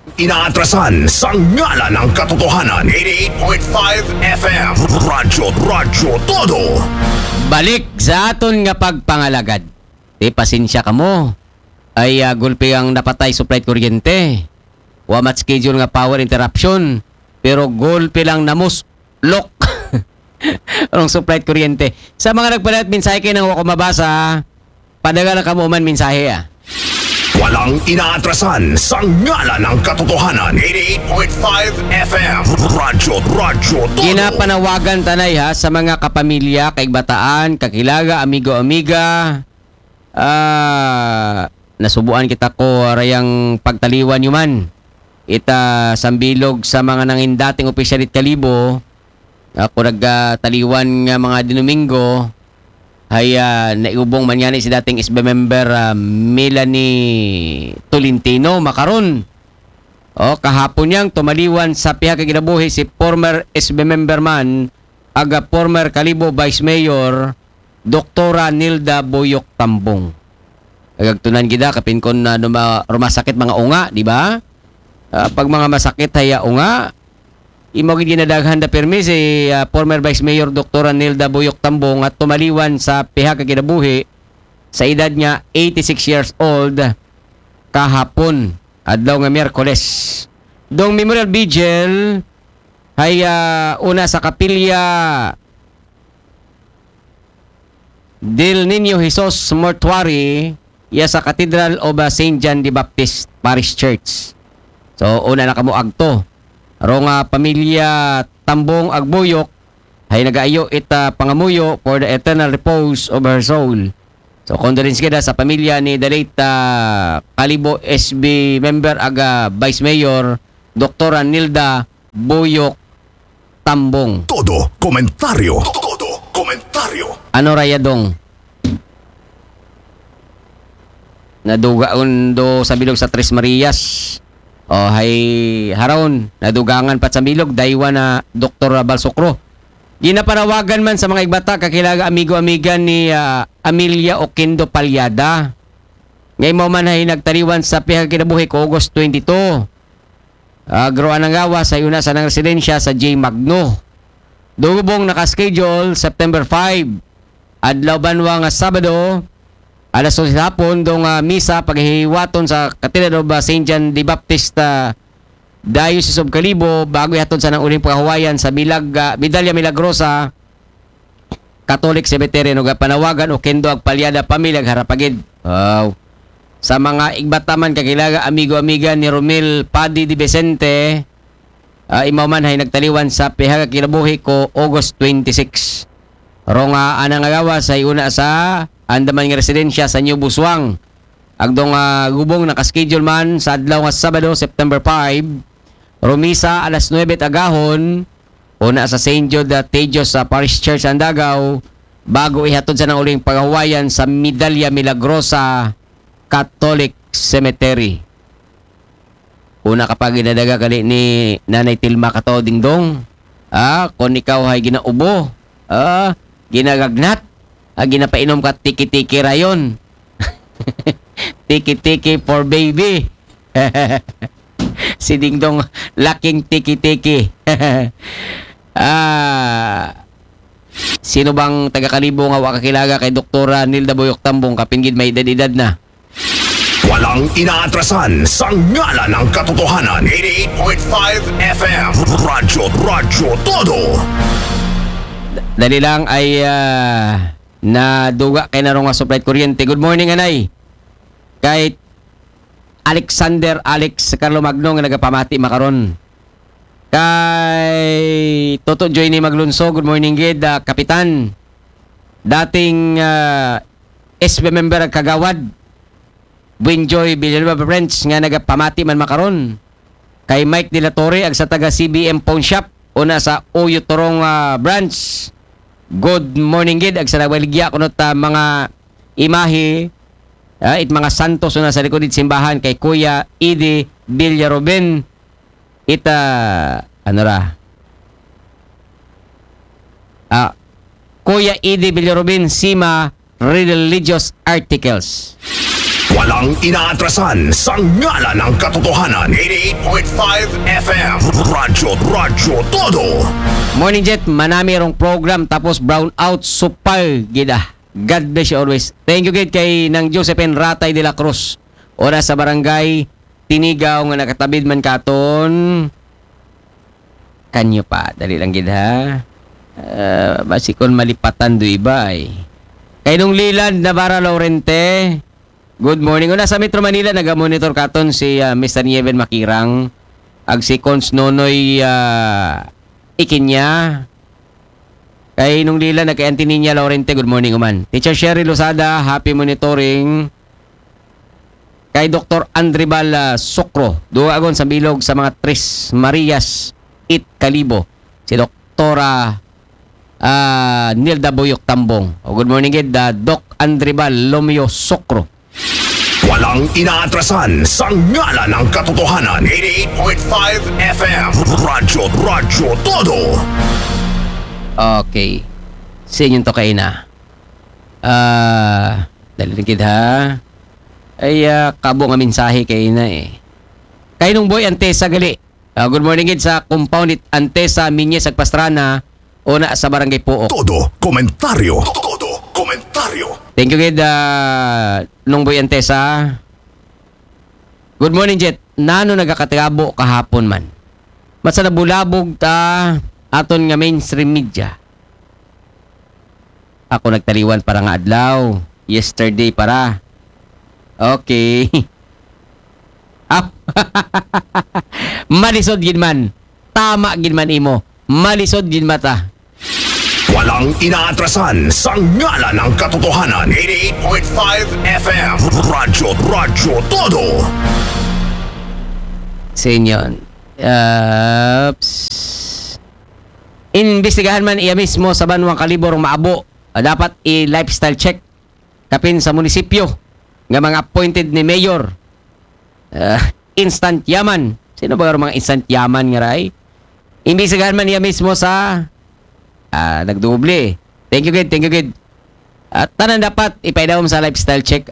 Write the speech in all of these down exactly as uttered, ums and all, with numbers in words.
Inaatrasan sa ngalan ng katotohanan. Eighty-eight point five F M. Radyo, Radyo Todo. Balik sa aton nga pagpangalagad. Di pasensya kamo. Ay ah, gulpi ang napatay supply kuryente. Wa mat schedule nga power interruption. Pero gulpi lang namuslok. Rong supply kuryente. Sa mga nagpalit mensahe kay nang wa ko mabasa, padagal lang kamo man mensahe ah. Walang inaatrasan sa ngalan ng katotohanan. Eighty-eight point five F M. Radyo, Radyo Todo. Ginapanawagan tanay ha sa mga kapamilya, kaigbataan, kakilaga, amigo-amiga. Ah, nasubuan kita ko rayang pagtaliwan nyo man. Ita sambilog sa mga nangin dating opisyal it Kalibo. Ako nagtaliwan nga mga Domingo. Hay ah, naubong man yani si dating S B member ah, Melanie Tolentino makaron. O, kahapon niyang tumaliwan sa piha ka kinabuhi si former S B member man, aga former Kalibo Vice Mayor, Doktora Nilda Boyok Tambong. Agagtunan gida kapin kon na numa- rumasakit mga unga, di ba? Ah, pag mga masakit haya unga, imo gid ginadaghan da pirmi si ah, former Vice Mayor Doktora Nilda Boyok Tambong at tumaliwan sa piha ka kinabuhi sa edad niya eighty-six years old kahapon, adlaw nga Miyerkules. Dong Memorial Vigil hay ah, una sa kapilya Del Niño Jesus Mortuary, iya sa Cathedral of ah, Saint John the Baptist Parish Church. So, una na kamo agto. Rong ah, pamilya Tambong Agbuyok, hay nagaayo ita pangamuyo for the eternal repose of her soul. So, condolence gid sa pamilya ni the late ah, Kalibo S B member aga Vice Mayor, Doktora Nilda Boyok Tambong. Todo komentaryo. Todo komentaryo. Ano raya dong? Nadugaon do sa bilog sa Tres Marias. O hay haron, nadugangan pa sa bilog, daywa na Doktor Balsokro. Ginapanawagan man sa mga igbata, kakilaga, amigo-amiga ni ah, Amelia Oquendo Palyada. Ngay mao man ay nagtaliwan sa piha ka kinabuhi ko August twenty-two. Agro anang gawa sa una sa nang residensya sa J Magno. Dugubong naka-schedule September five. Adlaw banwa nga Sabado, alas dos hapon, dong ah, misa paghiwaton sa Cathedral of ah, Saint John the Baptist ah, Diocese of Kalibo, bago ihatod sa nang uling pagkahuwayan sa Milag, ah, Medalla Milagrosa Catholic Cemetery. Nung panawagan o kendo ag palyada pamilya ag harapagid. Wow. Sa mga igbataman kakilaga, amigo-amiga ni Romel Padi de Vicente, ah, imaw man hay nagtaliwan sa piha ka kinabuhi ko August twenty-six. Rong ah, anang agawa sa iuna sa andaman nga residensya sa New Busuang. Agdong ah, gubong naka-schedule man sa adlaw nga Sabado, September five, rumisa alas nuebe agahon, una sa Saint Jude ah, Tejo sa Parish Church Andagaw, bago ihatod sa nang uling pagahuwayan sa Medalla Milagrosa Catholic Cemetery. Una ka pa ginadaga kali ni Nanay Tilma Kato Dingdong. Ah, kung ikaw ay ginaubo, ah, ginagagnat, ah, ginapainom ka tiki-tiki rayon. Tiki-tiki for baby. Si Dingdong laking tiki-tiki. Ah, sino bang taga Kalibo nga wa kakilaga kay Doktora Nilda Boyok Tambong, kapin gid may edad-edad na? Walang inaatrasan sa ngalan ng katotohanan. Eighty-eight point five F M. Radyo, Radyo Todo. Dali lang ay ah, naduga kay narong nga supply kuryente. Good morning, anay. Kay Alexander Alex Carlo Magno nga nagapamati makaron. Kay Toto Joyny Maglunso, good morning gid, ah, Kapitan. Dating ah, S B member ag kagawad, Buenjoy Villanueva French nga nagapamati man makaron. Kay Mike De La Torre ag sa taga C B M Pawn Shop, una sa Uyo Torong ah, Branch. Good morning gid ag sa nagbaligya kuno ta mga imahe, ah, it mga santos una sa likod it simbahan kay Kuya Idi Villaruben. Ita, ano ra? Ah, Kuya Idi Villaruben, Sima Religious Articles. Walang inaatrasan sa ngalan ng katotohanan. Eighty-eight point five F M. Radyo, Radyo Todo. Morning Jet, manami rong program tapos brown out, super gid ah. God bless you always. Thank you gid kay Nang Josephine Ratay de la Cruz. Ora sa barangay Tinigaw nga nakatabid man katon. Kanyo pa, dali lang gid ha. Ah, basi kon malipatan do iba ay. Kay nung Liland Navarra Laurente, good morning. Una sa Metro Manila, naga-monitor katon si ah, Mister Nieven Makirang. Ag si Cons Nonoy ah, Ikinya. Kay nung Liland, kay Auntie Ninya Laurente, good morning uman. Teacher Sherry Lozada, happy monitoring. Kay Doktor Andribal ah, Sokro, duagon sa bilog sa mga Tres Marias it Kalibo. Si Doktora ah, Nilda Buyok Tambong. O, good morning gid, ah, Doc Andribal Lomio Sokro. Walang inaatrasan sa ngalan ng katotohanan. Eighty-eight point five F M. Radyo, Radyo Todo. Okay. Sa inyong to kaina. Ah, dali lang gid ha. Ay, ah, kabo nga mensahe kaina eh. Kay nung Boy Antesa gali. Ah, good morning gid sa compound it Antesa Minyes ag Pastrana, una sa Barangay Puok. Todo komentaryo. Todo komentaryo. Thank you gid ah, nung Boy Antesa. Good morning Jet. Nano nagakatrabo kahapon man? Matsa nabulabog ta aton nga mainstream media. Ako nagtaliwan para nga adlaw. Yesterday para. Okay. Ah, malisod gid man. Tama gid man imo. Malisod gid mata. Walang inaatrasan sa ngalan ng katotohanan. Eighty-eight point five F M. Radyo, Radyo Todo. Sinyon. Ups. Imbestigahan man iya mismo sa banwang Kalibo rong maabo. Ah, dapat i-lifestyle check kapin sa munisipyo nga mga appointed ni mayor. Ah, instant yaman. Sino ba ang mga instant yaman nga ray? Imbestigahan man iya mismo sa ah, nagdoble. Thank you gid, thank you gid. At tanan dapat ipaidawom sa lifestyle check.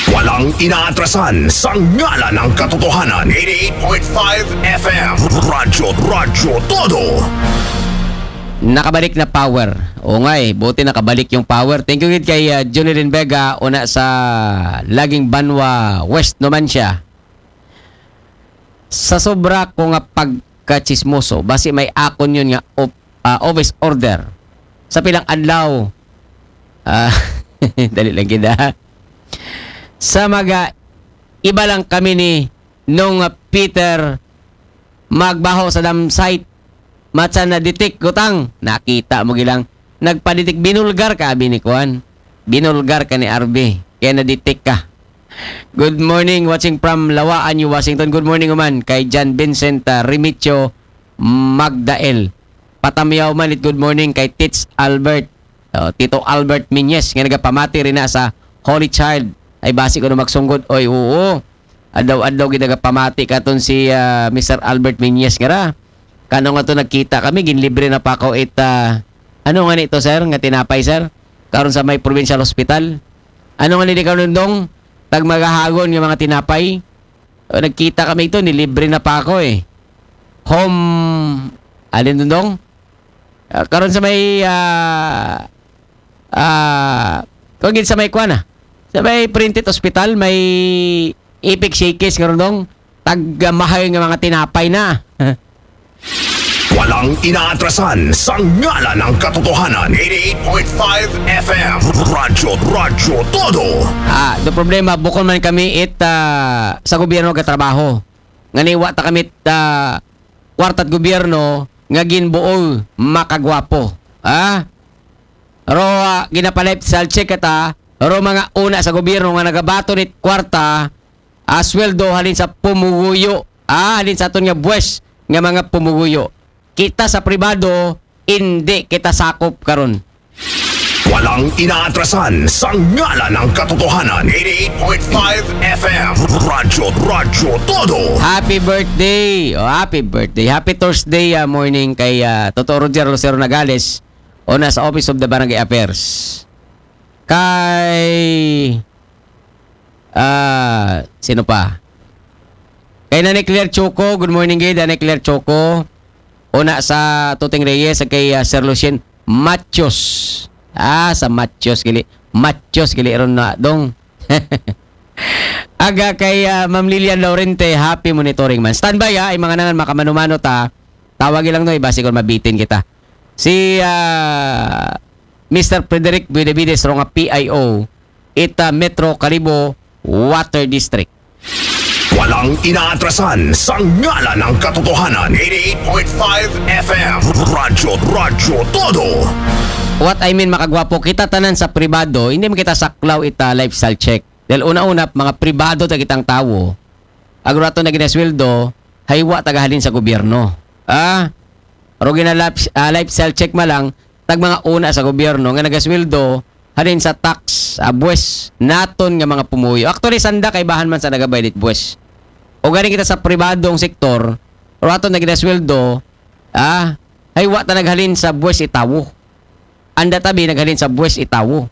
Walang inaatrasan sa ngalan ng katotohanan. Eighty-eight point five F M. Radyo, Radyo Todo. Nakabalik na power. O ngay, buti nakabalik yung power. Thank you gid kay ah, Junilin Vega, una sa Laging Banwa West naman siya. Sa sobra ko nga pagkachismoso, basi may akon yun nga op, ah, office order. Sa pilang adlaw, ah, dali lang gid ha. Sa mga iba lang kami ni nung ah, Peter magbaho sa dam site. Matsa na detect gutang. Nakita mo gilang. Nagpa-detect, binulgar ka, abi ni Kuan. Binulgar ka ni R B. Kaya na-detect ka. Good morning, watching from Lawaan, New Washington. Good morning, uman. Kay John Vincent ah, Rimicho Magdael. Patamyaw man it good morning kay Tits Albert. Oh, Tito Albert Minyes nga nagapamati rin na sa Holy Child. Ay basi ko na magsunggod. Oy, oo. Adlaw-adlaw gid nagapamati katon si ah, Mister Albert Minyes nga ra. Kano nga to nagkita kami, ginlibre na pa ako it ah, ano nga nito, sir, nga tinapay, sir? Karon sa may provincial hospital. Ano nga nini karon dong? Tag magahagon nga mga tinapay. O, nagkita kami ito, nilibre na pa ako eh. Home, alin dong? Ah, karon sa may ah ah kung gid sa may kuan ah. Sa may Printed Hospital, may Epic Shakes karon dong. Tag ah, mahal nga mga tinapay na. Walang inaatrasan sa ngalan ng katotohanan. Eighty-eight point five F M. Radyo, Radyo Todo. Ah, do problema, bukon man kami it ah, sa gobyerno gatrabaho. Nganiwa ta kami it ah, kwarta't gobyerno nga ginbuol makagwapo. Ah? Ro ah, ginapalip sa check ata, ro mga una sa gobyerno nga nagabaton it kwarta, ah, sweldo halin sa pumuguyo. Ah, halin sa aton nga buwes nga mga pumuguyo. Kita sa pribado, hindi kita sakop karon. Walang inaatrasan sa ngalan ng katotohanan. Eighty-eight point five F M. Radyo, Radyo Todo. Happy birthday! Oh, happy birthday. Happy Thursday ah, morning kay ah, Toto Roger Lucero Nagales o nasa Office of the Barangay Affairs. Kay Ah, sino pa? Kay Nanay Claire Choco, good morning gid, Nanay Claire Choco. Una sa Tuting Reyes, kay ah, Sir Lucien Machos. Ah, sa Machos gili. Machos gili ron na dong. Aga kay ah, Ma'am Lilian Laurente, happy monitoring man. Standby ha, ay mga nangan makamanumano ta. Tawagi lang no, iba siguro mabitin kita. Si ah, Mister Frederick Buidavides ro nga P I O, ita Metro Kalibo Water District. Walang inaatrasan sa ngalan ng katotohanan. eighty-eight point five F M. Radyo, Radyo Todo. What I mean, makagwapo, kita tanan sa pribado, hindi man kita saklaw ita lifestyle check. Dahil una-una, mga pribado ta kitang tawo, agro ato na ginasweldo, haywa tagahalin sa gobyerno. Ah, pero gina life, ah, lifestyle check ma lang, tag mga una sa gobyerno nga nagasweldo, halin sa tax, ah, buwes, naton nga mga pumuyo. Actually, sanda kay bahan man sa nagabayad it buwes. O galing kita sa pribadong sektor, pero ato na ginasweldo, ah, haywa ta naghalin sa buwes itawo. Anda tabi naghalin sa buwes itawo.